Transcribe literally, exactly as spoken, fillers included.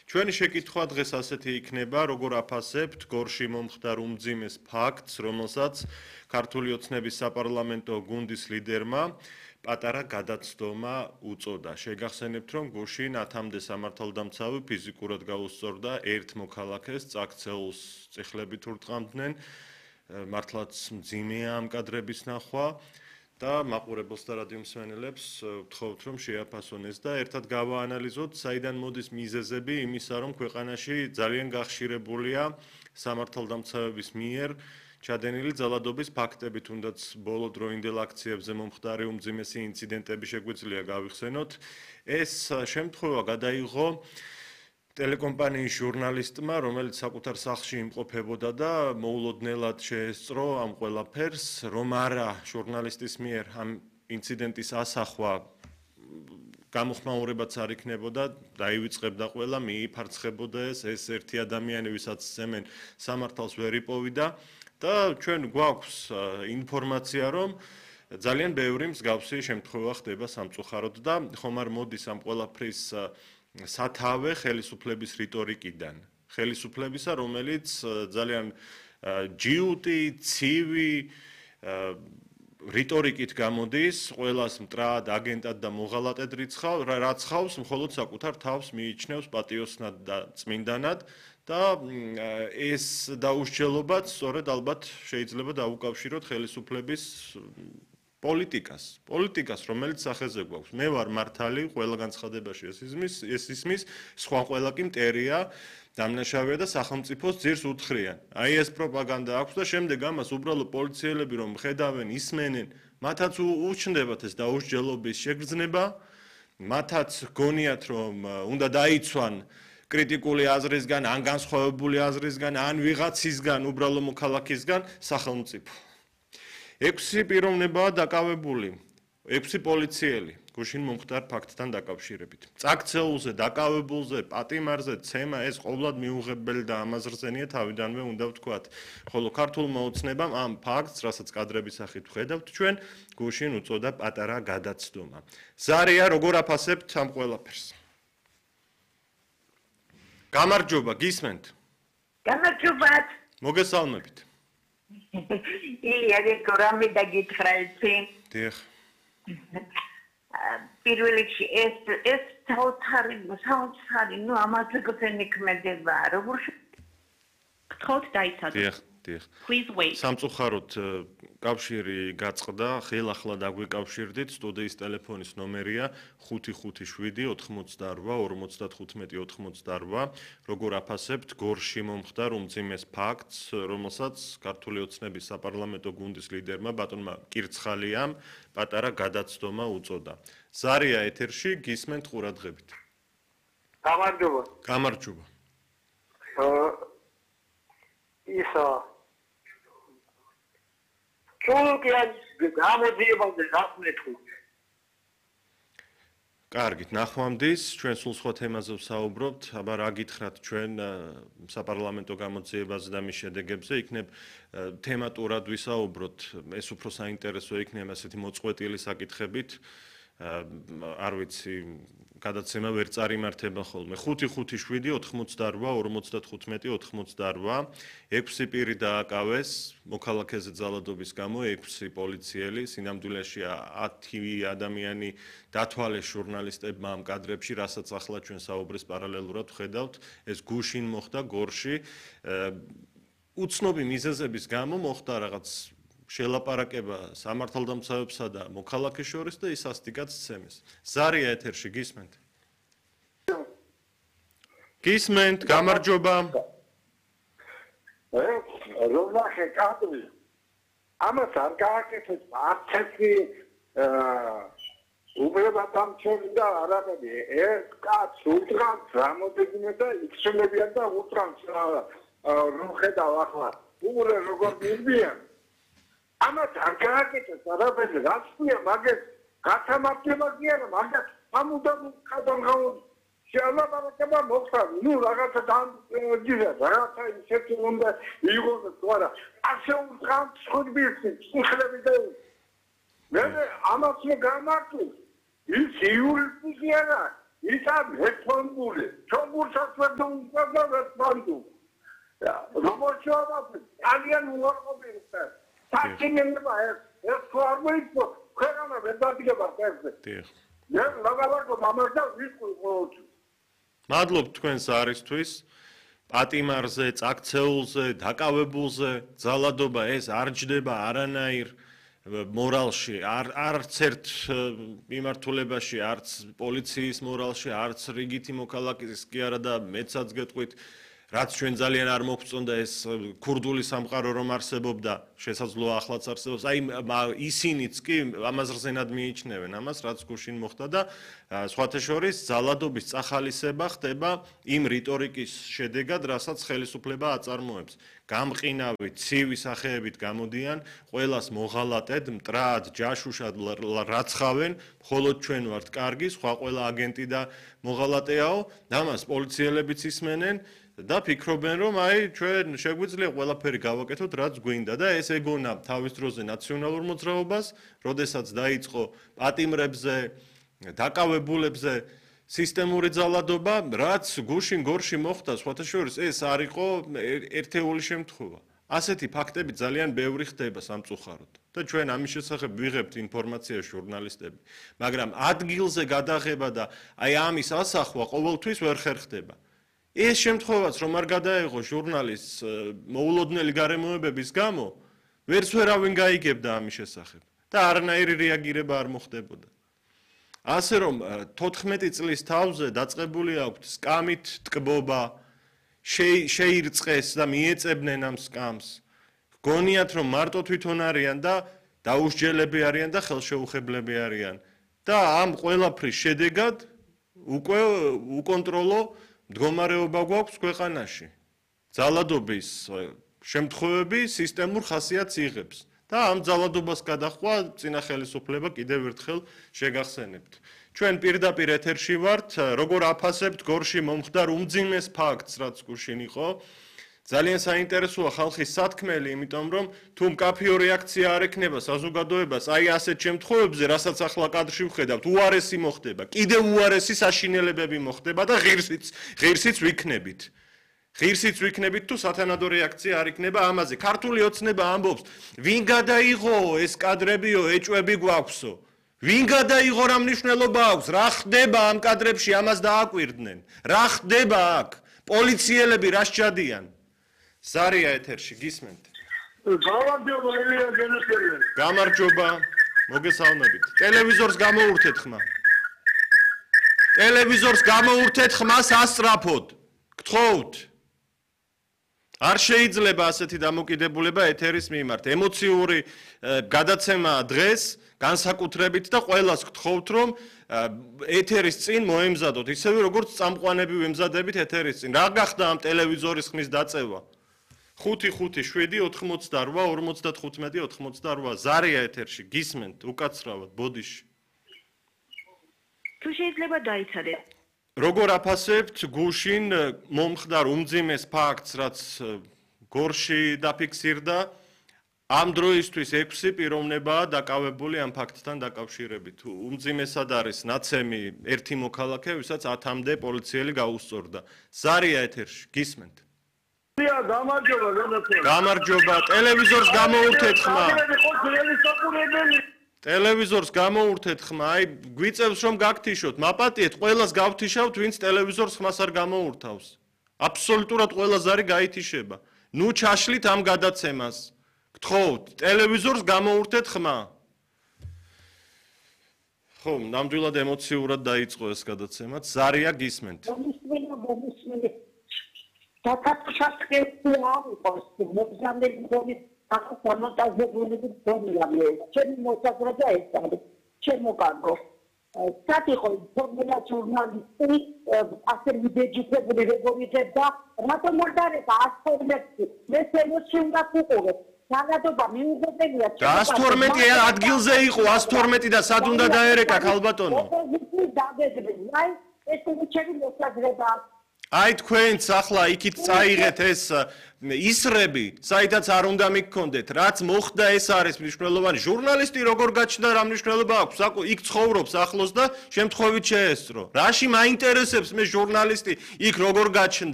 ჩვენი შეკითხვა დღეს ასეთი იქნება, როგორ აფასებთ გორში მომხდარ უმძიმეს ფაქტს, რომელსაც ქართული ოცნების საპარლამენტო გუნდის ლიდერმა პატარა გადაცდომა უწოდა. შეგახსენებთ, რომ გუშინ ათამდე სამართალდამცავი ფიზიკურად გაუსწორდა ერთ მოქალაქეს, წაქცეულს წიხლებით ურტყამდნენ, მართლაც მძიმეა ამ კადრების ნახვა. და მაყურებელს და რადიო მსმენელებს ვთხოვთ, რომ შეაფასონ ეს და ერთად გავაანალიზოთ, საიდან მოდის მიზეზები იმისა, რომ ქვეყანაში ძალიან გახშირებულია სამართალდამცავების მიერ ჩადენილი ძალადობის ფაქტები, თუნდაც ბოლო დროინდელ აქციებზე მომხდარი უმძიმესი ინციდენტები შეგვიძლია გავიხსენოთ. ეს შემთხვევა გადაიღო ტელეკომპანიის ჟურნალისტმა, რომელიც საკუთარ სახლში იმყოფებოდა და მოულოდნელად შეესწრო ამ ყველაფერს, რომ არა ჟურნალისტის მიერ ამ ინციდენტის ასახვა გამოხმაურებაც არ იქნებოდა, დაივიწყებდა ყველა, მიიფარცხებოდა ეს, ეს ერთი ადამიანი, ვისაც ზემენ სამართალს ვერ იპოვიდა და ჩვენ გვაქვს ინფორმაცია, რომ ძალიან ბევრი მსგავსი შემთხვევა ხდება სამწუხაროდ და ხომ არ მოდის ამ ყველაფრის სათავე ხელისუფლების რიტორიკიდან. ხელისუფლებისა, რომელიც ძალიან ჯიუტი, ცივი რიტორიკით გამოდის, ყველას მტრად, აგენტად და მოღალატედ რაცხავს, მხოლოდ საკუთარ თავს მიიჩნევს პატიოსნად და წმინდანად და ეს დაუსჯელობაც სწორედ ალბათ შეიძლება დაუკავშიროთ ხელისუფლების პოლიტიკას, პოლიტიკას, რომელიც სახეზე გვაქვს. მე ვარ მართალი, ყველა განცხადებაში ეს ისმის, ეს ისმის, სხვა ყველა კი მტერია, დამნაშავეა და სახელმწიფოს ძირს უთხრიან. აი ეს პროპაგანდა აქვს და შემდეგ ამას უბრალოდ პოლიციელები რომ ხედავენ, ისმენენ, მათაც უჩნდებათ ეს დაუსჯელობის შეგრძნება, მათაც გონიათ რომ უნდა დაიცვან კრიტიკული აზრისგან, ან განსხვავებული აზრისგან, ან ვიღაცისგან, უბრალო მოქალაქისგან სახელმწიფო. ექვსი პიროვნებაა დაკავებული, ექვსი პოლიციელი გუშინ მომხდარ ფაქტთან დაკავშირებით. წაქცეულზე, დაკავებულზე, პატიმარზე ცემა ეს ყოვლად მიუღებელი და ამაზრზენია თავიდანვე უნდა ვთქვათ. ხოლო ქართულმა ოცნებამ ამ ფაქტს, რასაც კადრების სახით ვხედავთ ჩვენ, გუშინ უწოდა პატარა გადაცდომა. ზარია, როგორ აფასებთ ამ ყველაფერს? გამარჯობა, გისმენთ? გამარჯობათ. მოგესალმებით. ილია გორამი დაგითხრა იცი. დიახ. პირველ რიგში ეს ეს საოცარი საოცარი ნუ ამაზე გქენიქმედება როგორ გთხოვთ დაიცადოთ. დიახ, დიახ. Please wait. სამწუხაროდ კავშირი გაწყდა, ხელახლა დაგვიკავშირდით, სტუდიის ტელეფონის ნომერია ხუთი ხუთი შვიდი ოთხმოცდაორვა ორმოცდათხუთმეტი ოთხმოცდაორვა. როგორ აფასებთ გორში მომხდარ უმძიმეს ფაქტს, რომელსაც ქართული ოცნების საპარლამენტო გუნდის ლიდერმა ბატონმა კირცხალიამ პატარა გადაცდომა უწოდა. ზარია ეთერში, გისმენთ ყურადღებით. გამარჯობა. გამარჯობა. ისა ჩულკიან გამოძიებაზე გასმეთქით. კარგით, ნახვამდის, ჩვენ სულ სხვა თემაზე ვსაუბრობთ, აბა რა გითხრათ ჩვენ საპარლამენტო გამოძიებაზე და მის შედეგებზე, იქნებ თემატურად ვისაუბროთ, ეს უფრო საინტერესო იქნება ასეთი მოწყვეტილი საკითხებით. არ ვიცი, გადაცემა ვერ წარიმართება ხოლმე. ხუთი ხუთი შვიდი ოთხმოცდაორვა ორმოცდათხუთმეტი ოთხმოცდაორვა. ექვსი პირი დააკავეს მოქალაქეზე ძალადობის გამო, ექვსი პოლიციელი, სინამდვილეში ათი ადამიანი დათვალეს ჟურნალისტებმა ამ კადრებში, რასაც ახლა ჩვენ საუბრის პარალელურად ვხედავთ, ეს გუშინ მოხდა გორში. უცნობი მიზეზების გამო მოხდა რაღაც შელაპარაკება სამართალდამცავებსა და მოქალაქეს შორის და ის ასტიკაც ცემეს. ზარია ეთერში, გისმენთ? გისმენთ, გამარჯობა. რომლახე კადრი. ამას არ გააკეთეთ არც ერთი უბრალოდ და არაფერი. ეს კაც უთხრავს რამოდენიმე და იქცნობიან და უთხრავს რომ ხედავ ახლა. უბრე როგორ მიდიან. ამათ არ გააკეთეს არაფერი, რაც ქვია მაგას გასამართლება კი არა, მაგას ამუდამ კადრგაუნ შეალაპარაკება მოხდა. ნუ რაღაცა დამჯერა, რაღაცა ისეთი უნდა იღოს თორა. ასე უთხრავს ხუთბირსი, ხლები და მე ამას გამართულ. ის იურისტი კი არა, იცან ერთონგული ჩოგურსაც ვერ დაუწევდა ერთონგული როგორ შევაბა ძალიან უარყოფილია საქმეა ეს ეს ხوارმოიქო ქვეყანა ვერ დადგება ესე დიახ მე მაგალითად მამასა ვიყო ყოველთვის მადლობ თქვენს არისთვის პატიმარზე, წაქცეულზე, დაკავებულზე ძალადობა ეს არ ჯდება არანაირ მორალში, არც ერთ მიმართულებაში, არც პოლიციის მორალში, არც რიგითი მოქალაქის კი არა და მეცაც გეტყვით, რაც ჩვენ ძალიან არ მოგწონდა ეს ქურდული სამყარო რომ არსებობდა, შესაძლოა ახლაც არსებობს. აი ისინიც კი ამას რზენად მიიჩნევენ ამას, რაც გუშინ მოხდა და სხვათა შორის ძალადობის წახალისება ხდება იმ რიტორიკის შედეგად, რასაც ხელისუფლება აწარმოებს. გამყინავი, ცივი სახეებით გამოდიან, ყველას მოღალატედ, მტრად, ჯაშუშად რაცხავენ, მხოლოდ ჩვენ ვართ კარგი, სხვა ყველა აგენტი და მოღალატეაო, ამას პოლიციელებიც ისმენენ. და ფიქრობენ რომ აი ჩვენ შეგვიძლია ყველაფერი გავაკეთოთ რაც გვინდა და ეს ეგონა თავის დროზე ნაციონალურ მოძრაობას, როდესაც დაიწყო პატიმრებზე, დაკავებულებზე სისტემური ძალადობა, რაც გუშინ გორში მოხდა, სხვათა შორის ეს არ იყო ერთეული შემთხვევა. ასეთი ფაქტები ძალიან ბევრი ხდება სამწუხაროდ და ჩვენ ამის შესახებ ვიღებთ ინფორმაცია ჟურნალისტები, მაგრამ ადგილზე გადაღება და აი ამის ასახვა ყოველთვის ვერ ხერხდება. ეს შემთხვევაც რომ არ გადაეღო ჟურნალისტს მოულოდნელი გარემოებების გამო, ვერც ვერავინ გაიგებდა ამის შესახებ და არანაირი რეაგირება არ მოხდებოდა. ასე რომ თოთხმეტი წლის თავზე დაწყებული აქვთ სკამით ტკბობა, შეირწყეს და მიეწებნენ ამ სკამს. გონიათ რომ მარტო თვითონ არიან და დაუსჯელები არიან და ხელშეუხებლები არიან და ამ ყველაფრის შედეგად უკვე უკონტროლო მდგომარეობა გვაქვს ქვეყანაში. ძალადობის შემთხვევები სისტემურ ხასიათს იღებს და ამ ძალადობას გადახვა წინა ხელისუფლება კიდევ ერთხელ შეგახსენებთ. ჩვენ პირდაპირ ეთერში ვართ, როგორ აფასებთ გორში მომხდარ უმძიმეს ფაქტს, რაც გუშინ იყო. ძალიან საინტერესოა ხალხის სათქმელი, იმიტომ რომ თუ მკაფიო რეაქცია არ ექნება საზოგადოებას, აი ასეთ შემთხვევებზე, რასაც ახლა კადრში ვხედავთ, უარესი მოხდება, კიდევ უარესი საშინელებები მოხდება და ღირსიც, ღირსიც ვიქნებით. ღირსიც ვიქნებით თუ სათანადო რეაქცია არ იქნება ამაზე. ქართული ოცნება ამბობს, ვინ გადაიღო ეს კადრებიო, ეჭვები გვაქვსო. ვინ გადაიღო რა მნიშვნელობა აქვს? რა ხდება ამ კადრებში, ამას დააკვირდნენ. რა ხდება აქ? პოლიციელები რა სჭადიან? ზარია ეთერში გისმენთ. გამარჯობა ელია გენესელი. გამარჯობა. მოგესალმებით. ტელევიზორს გამოურთეთ ხმა. ტელევიზორს გამოურთეთ ხმას ასწრაფოდ. გთხოვთ. არ შეიძლება ასეთი დამოკიდებულება ეთერის მიმართ. ემოციური გადაცემა დღეს განსაკუთრებით და ყველას გთხოვთ რომ ეთერის წინ მოემზადოთ, ისევე როგორც წამყვანები ვემზადებით ეთერის წინ. რა გახდა ამ ტელევიზორის ხმის დაწევა? ხუთი ხუთი შვიდი ოთხმოცდარვა ორმოცდათხუთმეტი ოთხმოცდარვა ზარია ეთერში გისმენთ უკაცრავად ბოდიში. თუ შეიძლება დაიცადეთ. როგორ აფასებთ გუშინ მომხდარ უმძიმეს ფაქტს, რაც გორში დაფიქსირდა, ამ დროისთვის ექვსი პიროვნებაა დაკავებული ამ ფაქტთან დაკავშირებით. უმძიმესად არის ნაცემი ერთი მოქალაქე, ვისაც ათამდე პოლიციელი გაუსწორდა. ზარია ეთერში გისმენთ. გამარჯობა გენესელი. გამარჯობა, ტელევიზორს გამოურთეთ ხმა. ტელევიზორს გამოურთეთ ხმა, აი გვიწევს რომ გაგთიშოთ, მაპატიეთ, ყველას გავთიშავთ, ვინც ტელევიზორს ხმას არ გამოურთავს. აბსოლუტურად ყველას არი გაითიშება. ნუ ჩაშლით ამ გადაცემას. გთხოვთ, ტელევიზორს გამოურთეთ ხმა. ხო, ნამდვილად ემოციურად დაიწყო ეს გადაცემაც. ზარია გისმენთ. დაკაცოჩასკეცია იყოს, მოგზაურები გონის ახალმონტაჟებული დონიამე. ჩემი მოსაზრება ეს არის, ჩემო კარგო. სათიხო ფორმულა ჟურნალისტი ასე მიდეჯიტებული როგორი და რატომ არ დარეკა ასთორმეტი მე შემოჩი უნდა ვუყურებ. ძალადობა მიუღებელია. ას თორმეტი ადგილზე იყო ას თორმეტი და სად უნდა დაერეკა ქალბატონო? ოპოზიციის დაგეგმენ. აი ეს ჩემი მოსაზრება. აი თქვენც ახლა იქით წაიღეთ ეს ისრები, საიდაც არ უნდა მიგქონდეთ, რაც მოხდა ეს არის მნიშვნელოვანი. ჟურნალისტი როგორ გაჩნდა, რა მნიშვნელობა აქვს? იქ ცხოვრობს ახლოს და შემთხვევით შეესწრო. რაში მაინტერესებს მე ჟურნალისტი იქ როგორ გაჩნდა?